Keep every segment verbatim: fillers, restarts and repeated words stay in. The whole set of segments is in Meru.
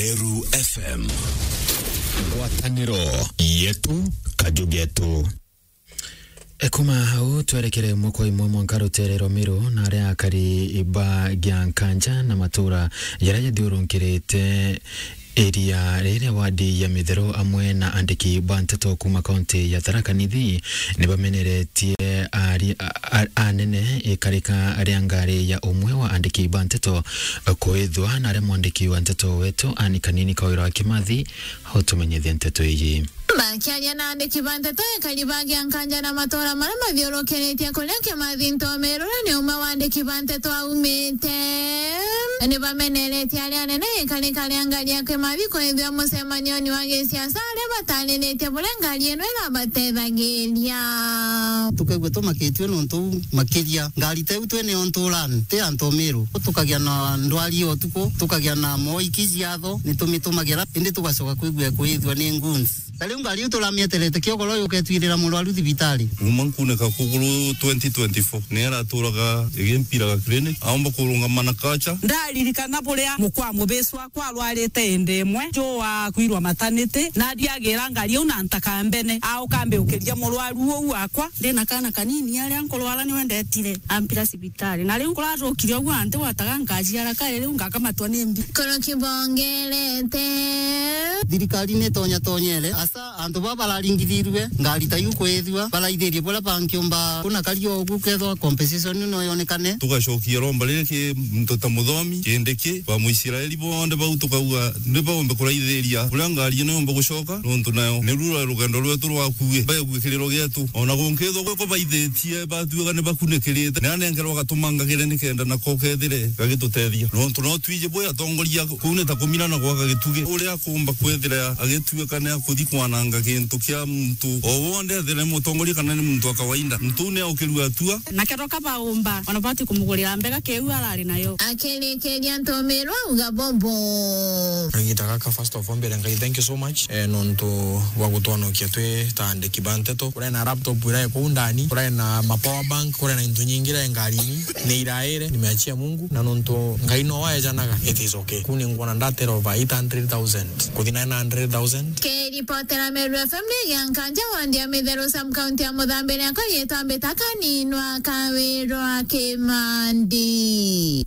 Meru F M. Ngwataniro yetu, kaju getu. E, kuma hau, twerekere imwe kwa imwe mwanka rutere rwa Meru na aria akari ba Giankanja na matura jaria jathiurunkirite eria riria wadi ya Mithero amwe na andiki ba nteto kuma kaunti ya Tharaka Nithi nibameneretie ari-, a-, a-, anene ikarika ria ngari ya umwe wa andiki ba nteto kuithwa na aria mwandiki wa nteto wetu Anne Kanini Kawira wa Kimathi utumenyithie nteto iji. Bakiaria na andiki ba nteto, ekari ba Giankanja na matura maria mathiurukiritie kuria Kimathi Ntomirura ni umwe wa andiki ba nteto aumite. Ni bameneretie aria anene ikarika ria ngari ya Kimathi kwithia mucemanioni wa gisiasa aria batariritie buria ngari ino irabatethagiria. Tukaigua tumakitue nontu makiria ngari teu twene ontu urani ti antu Miru. Tukagia na ndwari ya utuku, tukagia na moiki ciatho, ni tumitumagira, indi tugacoka kwigua kwithua ni goons. Ta riu ngari iu turamieterete kiogoro yuketwirira murwaru thibitari. Kuma nkuneka kuguru twenty twenty-four, ni araturaga igimpiraga clinic, aomba kurungama na kacha. Ndaririkana buria mukwa mubici wakwa arwarite indi imwe, jo wa kwirwa maternity, na ndiagira ngari iu na ntaka mbene, auka mbiukiria murwaru uu wakwa. Ndina kana kanini, aria nkurwara niwe ndetire, ampira cibitari. Na riu nkuracukire uguo anti gwataga nkaciara kairi, riu ngakamatwa ni mbi. Koroki bongerete. Thirikari ni tonya tonyere, asa antu baba bararingithirue, ngari ta iu kwithua, baraithirie buria bangiumba kuna kari ogu kethwa compensation no yonekane. Tugacokia romba riri ki muntu ta Muthomi, Kindiki, ba Muisraeli bonthe bau tukauga ni baumbe kuraithiria buria ngari ino yomba gucoka, nontu nayo ni rura rugendo rwetu rwakue, baegue kiriro gietu. Ona gunkithwa gwe kubaithitie, batuika ni bakunikirite, ni anenkerwa gatumangagire nikenda nako kethire gagitutethia. Nontu no twiji bwi atongoria kuu ni ta kumina na gwaka gitugi. Uria akumba kwithira agituika ni akuthi kwananga gintu kia muntu o wonthe, ethire ni mutongoria kana ni muntu wa kawaida, muntu uu ni aukirua atua. Na kethwa ka baumba, ona bati kumugurira mbega kiu arari nayo. Akirikiria Ntomirwa auga bobo. Kagiita gaka, first of all, mbere Ngai, thank you so much, eh, nontu bwa gutwonokia twi ta andiki ba nteto. Kurai na laptop irai kuu ndani, kurai na ma power bank, kurai na into nyingi irai ngarini. Ni iraire, nimeachia Mungu, na nontu Ngai no waejanaga, it is okay. Kuu ni ngwona ndatera over eight hundred thousand, kuthi nine hundred thousand. Kiripotera Meru F M ni Giankanja, wandi ya Mitheru, sub county ya Muthambi, riakwa riitwa Mbita Kaninwa Kawirwa Kimandi.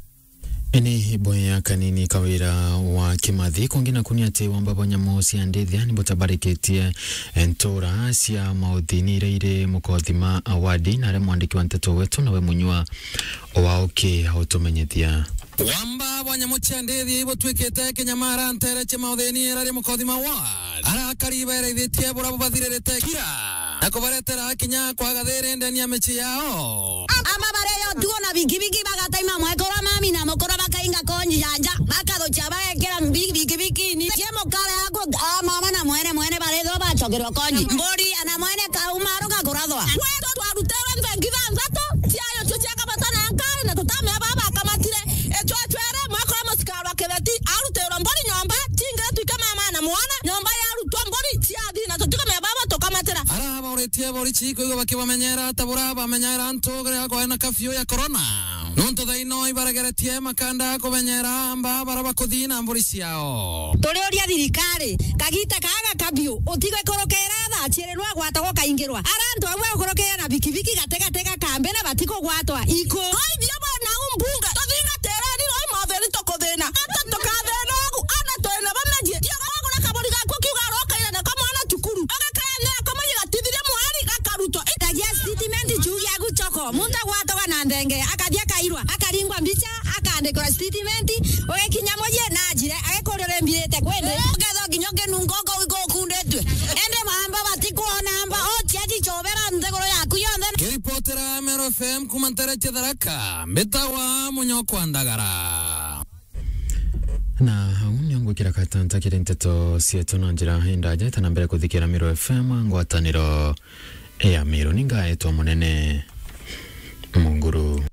Ini boya Kanini Kawira wa Kimathi. Kungi naku ni ati wamba bwa nyamu cia ndithia ni butabarikitie ntura cia mauthini iria iri Mukothima Award, na aria mwandiki wa nteto wetu nawe Munyua wa Uki autumenyithia. Wamba bwa nyamu cia ndithia ibutwikite kinyamara ntere cia mauthini iria iri Mukothima Award. Arakari bairaithitie bura bubathiririte kira na kubaretera kinya kwaga thiri ndeni ya micii yao. Ama bareyo tuo na bikibiki bagataima mwekoro mami na mukoro bakainga konji janja, bakathukia bagekira mbi-, bikibikini. Cie mukare aku, a mama na mwene mwene barethwa bacokerwa konji. Mburi ana mwene kaumaru gakurathwa. Kwetu twarutirwe nthengi thanthatu, ciayo cio ciakabata na nkari na tutamea baba akamatire. Ecwecwere mwekoro mucikarwa kitheti, arutirwe mburi nyomba, tingire twike mama na mwana, nyomba yarutwa mburi ciathi na tutikamea baba tukamatira. Ara bauritie borichi kwigua bakibamenyera ta bura bamenyera antu ria kwae na kafyu ya corona. Nontu thaino ibaregeretie makanda kumenyera amba bara bakuthi na mburi ciao. Turiuria thirikari, kagita kaga kabyu, utigwe kurukira thaa ciiri rwagwatagwa ukaingirwa. Ara antu amwe ukurukira na bikibiki gatigati ga kambi na batikugwatwa iku. Koithia bona umbunge, tuthingatireni roi motheri tukuthina. Ata tukathina ugu, ana twina bamejie. Tiga wagura kaburi gaku kiuga arokaire nako mwana cukuru. Agakaya ni akomagia gatithiria mwari gakarutwa. Itagia statement juu ya guchoko. Muntu agwatagwa na nthenge, akathi akairwa, akaringwa mbicha, akaandikirwa statement, ugikinya mucii na ajire, agikuria uri mbirite kwindi. Ukethwa kinya ukinunga uko-, uko-, ukunditue. Indi mamba batikwona mba, o chiachi chobera nthiguru yaku yonthe. Kiripotera Meru F M kuma ntere cia Tharaka, mbitagwa Munyokwa Ndagara. Na au nio ngwikira katanta kiri nteto cietu na njira indaja itana mbere kuthikira Meru F M, ngwataniro ya Meru. Ni ngaetwa Munene Munguru.